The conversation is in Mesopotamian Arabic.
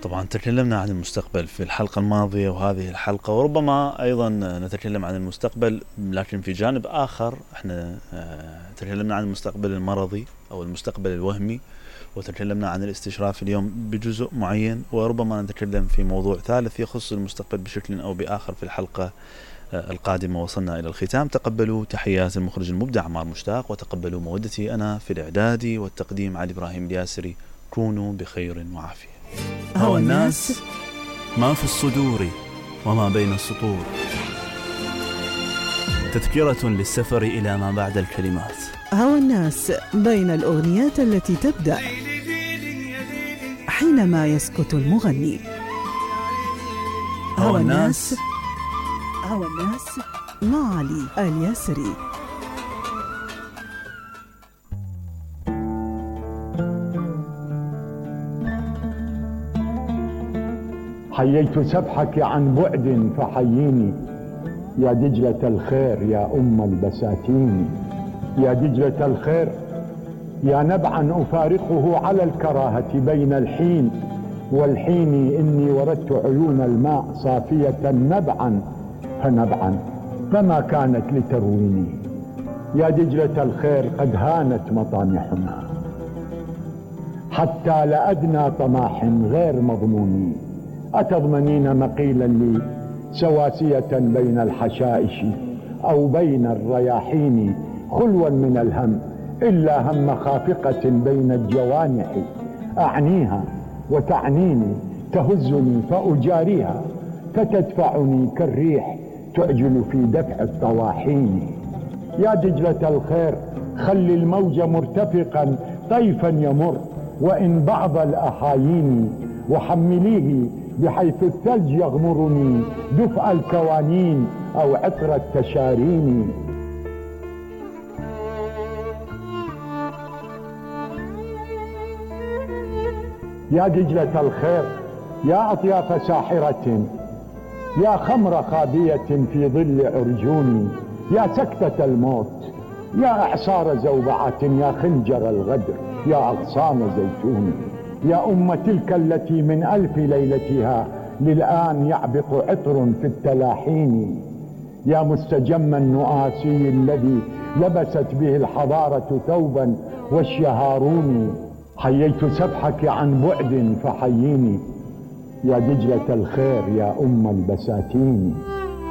طبعا تكلمنا عن المستقبل في الحلقة الماضية وهذه الحلقة، وربما أيضا نتكلم عن المستقبل لكن في جانب آخر. احنا تكلمنا عن المستقبل المرضي أو المستقبل الوهمي، وتكلمنا عن الاستشراف اليوم بجزء معين، وربما نتكلم في موضوع ثالث يخص المستقبل بشكل أو بآخر في الحلقة القادمة. وصلنا إلى الختام. تقبلوا تحيات المخرج المبدع عمار مشتاق، وتقبلوا مودتي أنا في الإعداد والتقديم علي إبراهيم الياسري. كونوا بخير وعافية. هوى الناس ما في الصدور وما بين السطور، تذكرة للسفر إلى ما بعد الكلمات. هوى الناس بين الأغنيات التي تبدأ حينما يسكت المغني. هوى الناس مع علي الياسري. حييت سبحك عن بعد فحييني يا دجلة الخير يا أم البساتين، يا دجلة الخير يا نبعا أفارقه على الكراهة بين الحين والحين، إني وردت عيون الماء صافية نبعا فنبعا فما كانت لترويني، يا دجلة الخير قد هانت مطامحنا حتى لأدنى طماح غير مضمون، أتضمنين مقيلا لي سواسية بين الحشائش أو بين الرياحين، خلوا من الهم إلا هم خافقة بين الجوانح، أعنيها وتعنيني تهزني فأجاريها فتدفعني كالريح تعجل في دفع الطواحين، يا دجلة الخير خلي الموج مرتفقا طيفا يمر وإن بعض الأحايين، وحمليه بحيث الثلج يغمرني دفء الكوانين أو عطر التشارين. يا دجلة الخير يا أطياف ساحرة يا خمر خابية في ظل عرجوني، يا سكتة الموت يا إعصار زوبعة يا خنجر الغدر يا أغصان زيتون، يا أم تلك التي من ألف ليلتها للآن يعبق عطر في التلاحين، يا مستجم النؤاسي الذي لبست به الحضارة ثوبا والشهارون، حييت سبحك عن بعد فحييني يا دجلة الخير يا أم البساتين.